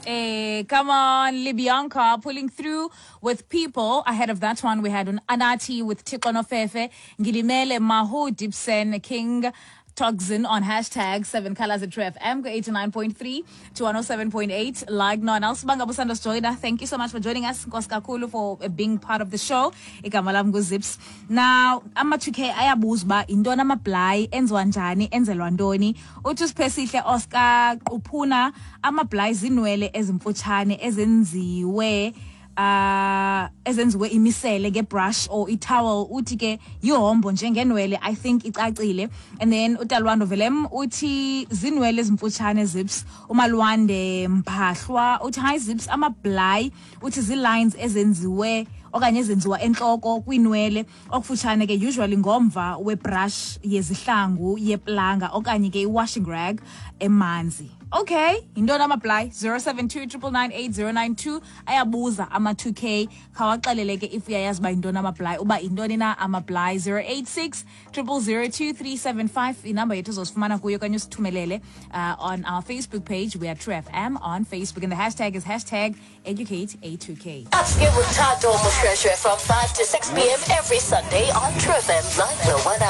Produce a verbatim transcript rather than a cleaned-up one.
Hey, come on, Libianca pulling through with people. Ahead of that one, we had an Anati with Tikono Fefe, Ngilimele Mahu Dibsen King. Toxin on hashtag seven colors at True F M, eighty-nine point three to one oh seven point eight. Like no one else. Banga Busandos joiner. Thank you so much for joining us. Nkosi kakhulu for being part of the show. Igama lam nguZips. Now, ama two K ayabuza uba yintoni amablayi, enziwa njani, enzelwa ntoni. Uthi uSiphesihle Oscar Quphuna, amablayi zinwele ezimfutshane ezenziwe uh ezenziwe imisele ngebrush or itowel. Uthi ke yihombo njengenwele, I think icacile. And then uTalwando Velem uthi zinwele ezimfutshane Zips. uMalwande Mphahlwa uthi hi Zips, amablayi uthi zii-lines ezenziwe okanye ezenziwa entloko kwinwele okufutshane ke usually ngomva webrush yezihlangu yeplanga okanye ke i-washing rag emanzi. Okay, yintoni amablayi? zero seven two triple nine eight zero nine two ayabuza ama two K. Khawaxelele ke if uyayazi uba yintoni amablayi, uba yintoni na amablayi. zero eight six triple zero two three seven five inamba yethu uzosifumana kuyo okanye usithumelele, uh, on our Facebook page. We are True F M on Facebook and the hashtag is hashtag educate A two K. Upscale with Thato Moshoeshoe from five to six P M every Sunday on True F M nine oh one.